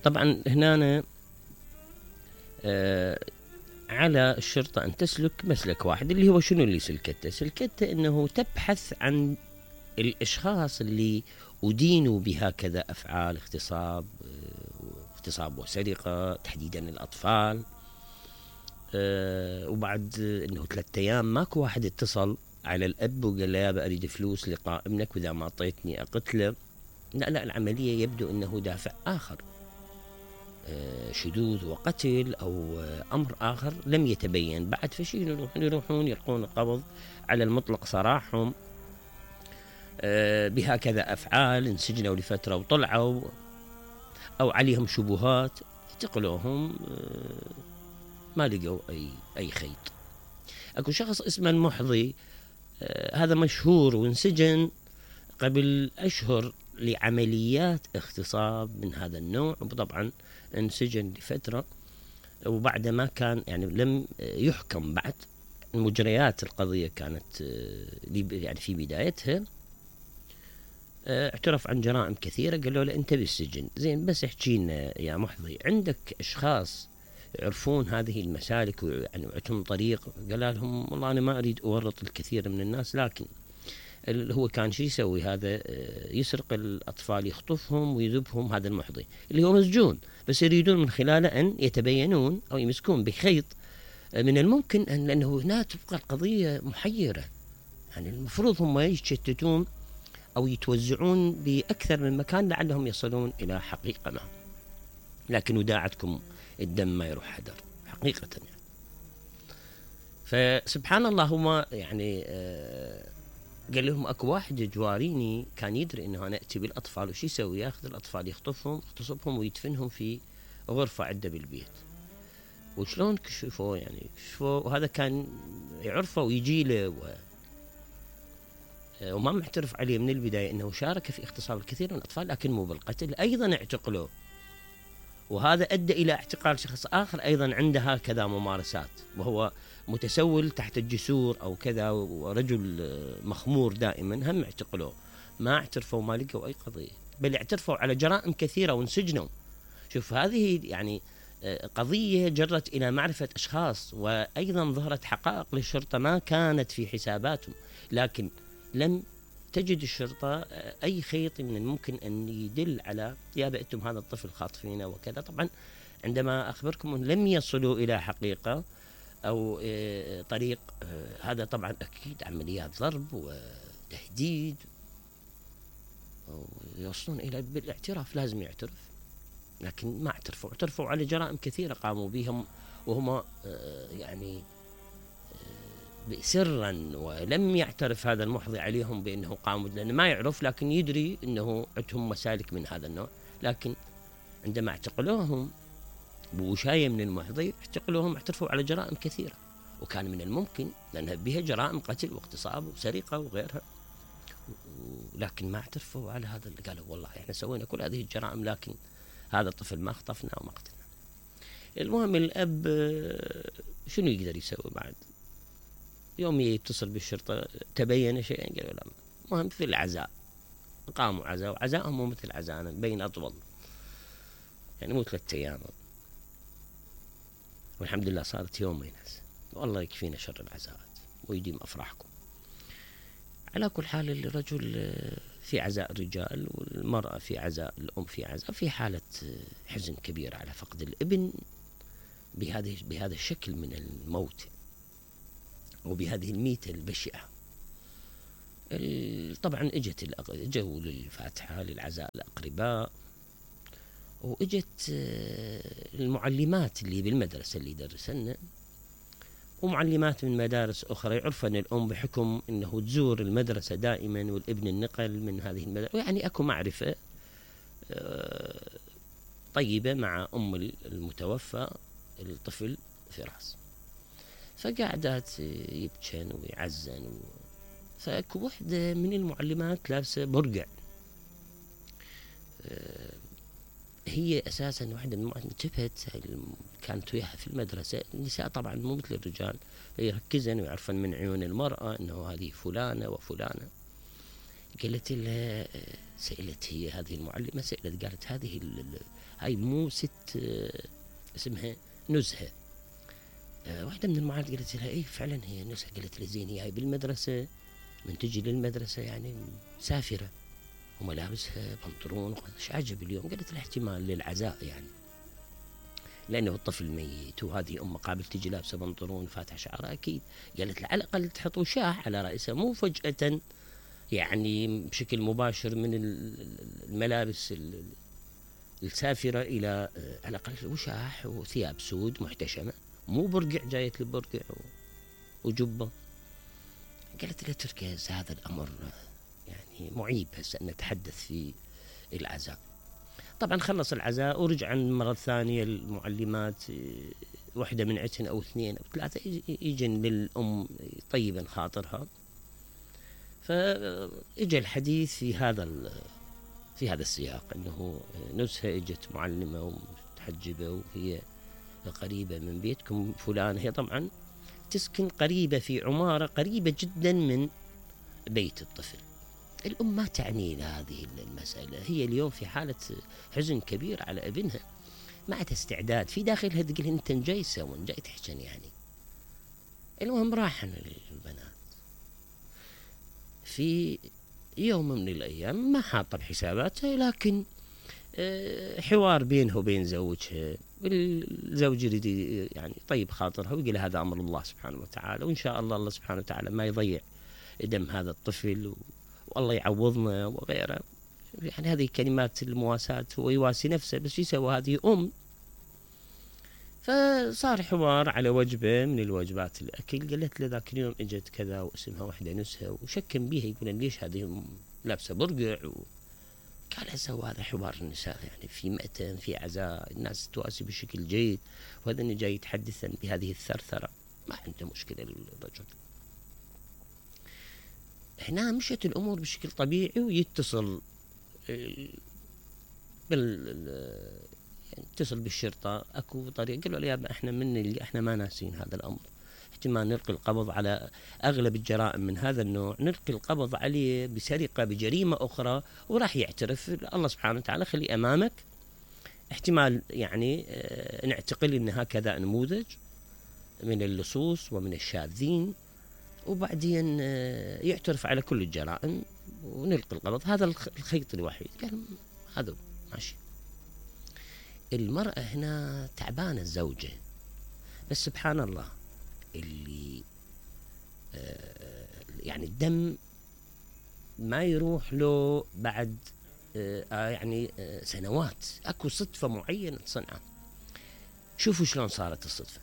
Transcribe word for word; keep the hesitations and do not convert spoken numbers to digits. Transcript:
طبعا هنا آه على الشرطة أن تسلك مسلك واحد، اللي هو شنو اللي سلكته؟ سلكته أنه تبحث عن الأشخاص اللي أدينوا بهكذا أفعال اغتصاب، اغتصاب وسرقة، تحديدا الأطفال. أه وبعد أنه ثلاثة أيام ماكو واحد اتصل على الأب وقال له يابا أريد فلوس لقاء ابنك وإذا ما أعطيتني أقتله. لا لا، العملية يبدو أنه دافع آخر، أه شذوذ وقتل أو أه أمر آخر لم يتبين بعد. فشي يروحون يلقون القبض على المطلق سراحهم أه بهكذا أفعال، انسجنوا لفترة وطلعوا، أو عليهم شبهات اعتقلوهم أه ما لقوا أي أي خيط. أكو شخص اسمه المحظي، آه هذا مشهور وانسجن قبل أشهر لعمليات اغتصاب من هذا النوع، وطبعا انسجن لفترة وبعد ما كان يعني لم يحكم بعد. مجريات القضية كانت آه يعني في بدايتها آه اعترف عن جرائم كثيرة. قالوا له أنت بالسجن زين، بس احكي لنا يا محظي عندك أشخاص يعرفون هذه المسالك ويعني وعندهم طريق؟ قال لهم والله أنا ما أريد أورط الكثير من الناس، لكن هو كان شو يسوي هذا؟ يسرق الأطفال، يخطفهم ويذبهم. هذا المحظي اللي هو مسجون، بس يريدون من خلاله أن يتبينون أو يمسكون بخيط من الممكن أن، لأنه هنا تبقى القضية محيرة. يعني المفروض هم يتشتتون أو يتوزعون بأكثر من مكان لعلهم يصلون إلى حقيقة ما، لكن وداعتكم الدم ما يروح حدر حقيقة يعني. فسبحان الله هما يعني آه قال لهم اكو واحد جواريني كان يدري انه انا اتي بالاطفال، وش يسوي؟ ياخذ الاطفال يخطفهم يغتصبهم ويدفنهم في غرفة عنده بالبيت. وشلون كشفوه؟ يعني كشفوه وهذا كان يعرفه ويجي له و... وما معترف عليه من البداية انه شارك في اغتصاب الكثير من الاطفال، لكن مو بالقتل. ايضا اعتقلوه، وهذا أدى إلى اعتقال شخص آخر أيضا عنده هكذا ممارسات، وهو متسول تحت الجسور أو كذا، ورجل مخمور دائما، هم اعتقلوه. ما اعترفوا، ما لقوا أي قضية، بل اعترفوا على جرائم كثيرة وانسجنوا. شوف هذه يعني قضية جرت إلى معرفة أشخاص، وأيضا ظهرت حقائق للشرطة ما كانت في حساباتهم، لكن لم تجد الشرطة أي خيط من الممكن أن يدل على يا بأتم هذا الطفل خاطفينه وكذا. طبعا عندما أخبركم أن لم يصلوا إلى حقيقة أو طريق، هذا طبعا أكيد عمليات ضرب وتهديد، ويوصلون إلى بالاعتراف. لازم يعترف، لكن ما اعترفوا. اعترفوا على جرائم كثيرة قاموا بهم وهم يعني سرا، ولم يعترف هذا المحظي عليهم بأنه قاموا، لأنه ما يعرف، لكن يدري أنه عندهم مسالك من هذا النوع. لكن عندما اعتقلوهم بوشاية من المحظي، اعتقلوهم اعترفوا على جرائم كثيرة، وكان من الممكن لأنها بها جرائم قتل واغتصاب وسرقة وغيرها، لكن ما اعترفوا على هذا. اللي قالوا والله احنا سوينا كل هذه الجرائم، لكن هذا الطفل ما خطفنا وما قتلنا. المهم الأب شنو يقدر يسوي بعد؟ يوم يتصل بالشرطة تبين شيئا، قالوا لا. مهم في العزاء قاموا عزاء، وعزاءهم مو مثل عزاءنا، بين أطول يعني مو ثلاثة أيام، والحمد لله صارت يومين هسه. والله يكفينا شر العزاءات ويديم أفراحكم. على كل حال الرجل في عزاء الرجال، والمرأة في عزاء الأم، في عزاء في حالة حزن كبير على فقد الابن بهذه بهذا الشكل من الموت وبهذه الميتة البشعة. طبعا اجت اجوا للفاتحة للعزاء الأقرباء، واجت المعلمات اللي بالمدرسة اللي درسنا، ومعلمات من مدارس أخرى يعرفن الأم بحكم أنه تزور المدرسة دائما والابن النقل من هذه المدرسة، يعني أكو معرفة طيبة مع أم المتوفى الطفل فراس. فقعدت يبكن ويعزن و... فأكو وحدة من المعلمات لابسة برقع، هي أساسا واحدة من انتبهت، كانت وياها في المدرسة. النساء طبعا مو مثل الرجال، يركزن ويعرفن من عيون المرأة أنه هذه فلانة وفلانة. قالت لها سألت هي هذه المعلمة سألت قالت هذه هاي مو ست اسمها نزهة. واحدة من المعلمات قالت لها اي فعلا هي نزهة. قالت لها زين هي هاي بالمدرسة من تجي للمدرسة يعني مسافرة وملابسها بنطلون ايش عجب اليوم؟ قالت لها احتمال للعزاء يعني لأنه الطفل ميت وهذه أمه قابل تجي لابسة بنطلون فاتح شعرها أكيد. قالت لها على الأقل تحط وشاح على رأسها مو فجأة يعني بشكل مباشر من الملابس السافرة إلى على الأقل وشاح وثياب سود محتشمة مو برقع جاية البرقع وجبة. قالت لها تركز هذا الأمر يعني معيب هسه أن نتحدث في العزاء. طبعا خلص العزاء ورجع مرة ثانية المعلمات واحدة من عتن أو اثنين أو ثلاثة يجن للأم طيبا خاطرها. فإجا الحديث في هذا في هذا السياق أنه نزهة إجت معلمة ومتحجبة وهي قريبة من بيتكم فلان. هي طبعا تسكن قريبة في عمارة قريبة جدا من بيت الطفل. الأم ما تعني هذه المسألة، هي اليوم في حالة حزن كبير على ابنها ما عندها استعداد في داخلها تقول انت جاي سوون جاي تحجن يعني. المهم راحن البنات في يوم من الأيام ما حاطة بحساباتها لكن حوار بينها وبين زوجها والزوج يريد يعني طيب خاطرها ويقول هذا أمر الله سبحانه وتعالى وإن شاء الله الله سبحانه وتعالى ما يضيع دم هذا الطفل والله يعوضنا وغيره. يعني هذه كلمات المواساة ويواسي نفسه بس يسوى هذه أم. فصار حوار على وجبة من الوجبات الأكل. قالت له ذاك اليوم اجت كذا واسمها واحدة نزهة وشكم بيها يقول ليش هذه لابسة برقع و... قال هسه هذا حوار النساء يعني في مأتم في عزاء الناس تواسي بشكل جيد وهذا اللي جاي يتحدثا بهذه الثرثرة ما عنده مشكلة الرجل. هنا مشت الأمور بشكل طبيعي ويتصل بال يتصل بالشرطة اكو طريقة. قالوا له يا احنا من اللي احنا ما ناسين هذا الأمر احتمال نلقي القبض على أغلب الجرائم من هذا النوع نلقي القبض عليه بسرقة بجريمة أخرى وراح يعترف الله سبحانه وتعالى خلي أمامك احتمال يعني اه نعتقل إن هكذا نموذج من اللصوص ومن الشاذين وبعدين اه يعترف على كل الجرائم ونلقي القبض. هذا الخيط الوحيد. قال هذا ماشي. المرأة هنا تعبانة الزوجة بس سبحان الله اللي آه يعني الدم ما يروح له بعد آه يعني آه سنوات اكو صدفة معينة تصنعها. شوفوا شلون صارت الصدفة.